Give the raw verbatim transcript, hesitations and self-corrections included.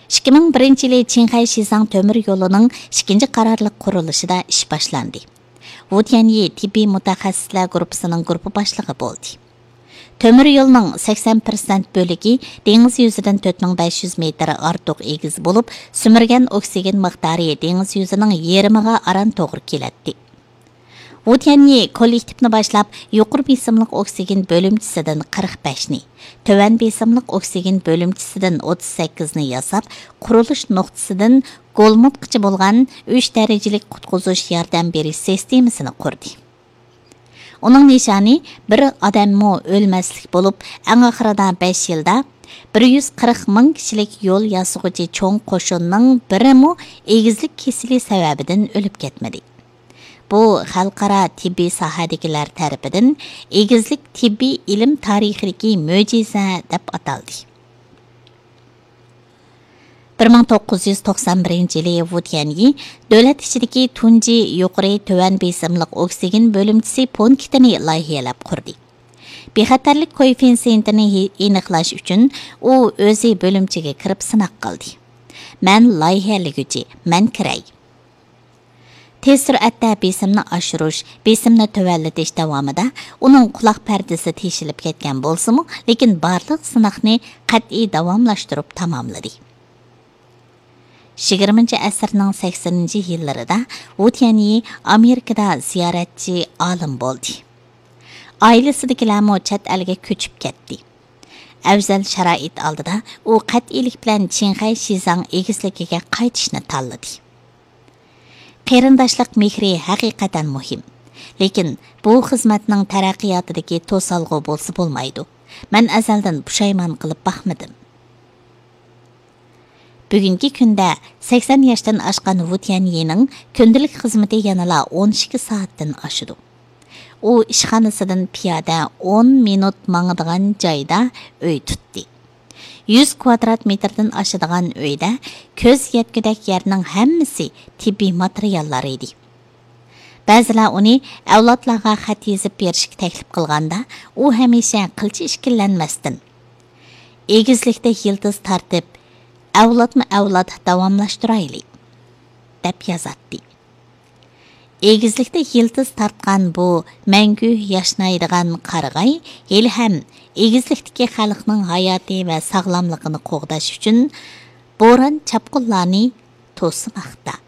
ئىككى مىڭ بىرىنچى يىلى چىڭخەي شىزاڭ تۆمۈر يولىنىڭ ئىككىنچى قارارلىق قۇرۇلۇشىدا ئىش باشلاندى. ۋۇ تيەنيى تېببىي مۇتەخەسسىسلەر گۇرۇپپىسىنىڭ گۇرۇپپا باشلىقى بولدى. تۆمۈر يولنىڭ سەكسەن پىرسەنت بۆلىكى دېڭىز يۈزىدىن تۆت مىڭ بەش يۈز مېتىر ئارتۇق ئېگىز بولۇپ، سۈمۈرگەن ئوكسىگېن مىقدارى دېڭىز يۈزىنىڭ يېرىمىغا ئاران توغرا كېلەتتى. ۋۇ تيەنيى كوللېكتىپنى باشلاپ، يۇقىرى بېسىملىق ئوكسىگېن بۆلۈمچىسىدىن قىرىق بەشنى، تۆۋەن بېسىملىق ئوكسىگېن بۆلۈمچىسىدىن ئوتتۇز سەككىزنى ياساپ، قۇرۇلۇش نۇقتىسىدىن گولمۇتقىچە بولغان ئۈچ دەرىجىلىك قۇتقۇزۇش ياردەم بېرىش سىستېمىسىنى قۇردى. ئۇنىڭ نىشانى بىر ئادەممۇ ئۆلمەسلىك بولۇپ، ئەڭ ئاخىرىدا بەش يىلدا بىر يۈز قىرىق مىڭ كىشىلىك يول ياسىغۇچى چوڭ قوشۇننىڭ بىرىمۇ ئېگىزلىك كېسىلى سەۋەبىدىن ئۆلۈپ كەتمىدى. بۇ خەلقئارا تېببىي ساھەدىكىلەر تەرىپىدىن ئېگىزلىك تېببىي ئىلىم تارىخىدىكى مۆجىزە دەپ ئاتالدى. بىر مىڭ توققۇز يۈز توقسان بىرىنچى يىلى ۋۇ تيەنيى دۆلەت ئىچىدىكى تۇنجى يۇقىرى تۆۋەن بېسىملىق ئوكسىگېن بۆلۈمچىسى پونكىتىنى لايىھەلەپ قۇردى. بىخەتەرلىك كوئېففىتسېنتىنى ھې-، ئېنىقلاش ئۈچۈن ئۇ ئۆزى بۆلۈمچىگە كىرىپ سىناق قىلدى. «مەن لايىھەلىگۈچى، مەن كىرەي.» تېز سۈرئەتتە بېسىمنى ئاشۇرۇش، بېسىمنى تۆۋەنلىتىش داۋامىدا ئۇنىڭ قۇلاق پەردىسى تېشىلىپ كەتكەن بولسىمۇ، لېكىن بارلىق سىناقنى قەتئىي داۋاملاشتۇرۇپ تاماملىدى. يىگىرمىنچى ئەسىرنىڭ سەكسىنىنچى يىللىرىدا ۋۇ تيەنيى ئامېرىكىدا زىيارەتچى ئالىم بولدى. ئائىلىسىدىكىلەرمۇ چەت ئەلگە كۆچۈپ كەتتى. ئەۋزەل شارائىت ئالدىدا ئۇ قەتئىيلىك بىلەن چىڭخەي شىزاڭ ئېگىزلىكىگە قايتىشنى تاللىدى. قېرىنداشلىق مېھرى ھەقىقەتەن مۇھىم. لېكىن بۇ خىزمەتنىڭ تەرەققىياتىدىكى توسالغۇ بولسا بولمايدۇ. مەن ئەزەلدىن پۇشايمان قىلىپ باقمىدىم. بۈگۈنكى كۈندە سەكسەن ياشتىن ئاشقان ۋۇ تيەنيىنىڭ كۈندىلىك خىزمىتى يەنىلا ئون ئىككى سائەتتىن ئاشىدۇ. ئۇ ئىشخانىسىدىن پىيادە ئون مىنۇت ماڭىدىغان جايدا ئۆي تۇتتى. يۈز كۋادرات مېتىردىن ئاشىدىغان ئۆيدە كۆز يەتكۈدەك يەرنىڭ ھەممىسى تېببىي ماتېرىياللار ئىدى. بەزىلەر ئۇنى ئەۋلادلارغا خەت يېزىپ بېرىشكە تەكلىپ قىلغاندا، ئۇ ھەمىشە قىلچە ئىككىلەنمەستىن، «ئېگىزلىكتە يىلتىز تارتىپ، ئەۋلادمۇ ئەۋلاد داۋاملاشتۇرايلى» دەپ يازاتتى. ئېگىزلىكتە يىلتىز تارتقان بۇ مەڭگۈ ياشنايدىغان قارىغاي ھېلىھەم ئېگىزلىكتىكى خەلقنىڭ ھاياتى ۋە ساغلاملىقىنى قوغداش ئۈچۈن بوران-چاپقۇنلارنى توسماقتا.